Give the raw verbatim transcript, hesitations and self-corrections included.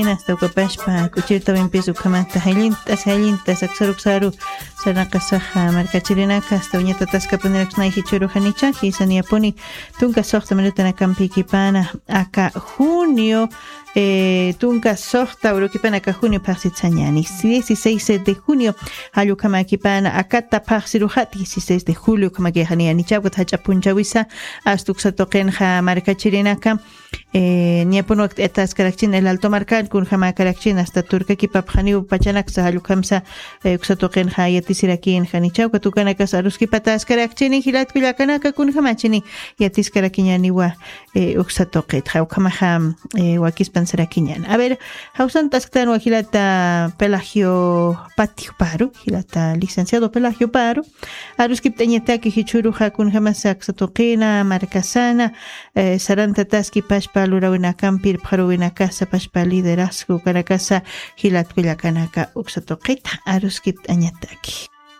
Hasta ukapashpa kuchirtawimpis ukhamanta jallint'as jallint'as aksaruksaru sarnaqasaxa markachirinaka hasta uñatataskapuniraksanay jichhurujanicha jisaniyapuni. Tunka soxta minutanakampikipana aka junio, eh, tunka soxta urukipanaka junio phaxsitsañani, dieciséis de junio. Jallukhamakipana akata phaxsiruxa dieciséis de julio ukhamakixaniyanicha ukat jach'a punchawisa. Asta uksatuqinxa markachirinaka, eh, ñapun wakt'ayataskarakchini el alto markan kunjamakarakchini asta turkakipapxaniw pachanaksa jallukhamsa. Eh, uksatuqinxa yatisirakïnxanicha ukat ukanakas aruskipataskarakchini jilatkullakanaka kunjamachini yatiskarakiñaniwa. Eh, uksatuqitxa ukhamaxa, eh, wakispansarakiñani a ver, jawsant'asktan wajilata pelagio patio paru jilata licenciado pelagio paru. Aruskipt'añataki jichhuruxa kunjamasa aksatuqina markasana, eh, sarantataski pashpa lurawinakampi irpxaruwinakasa pashpa liderazgo kanakasa jilatkullakanaka uksatuqita aruskipt'añataki.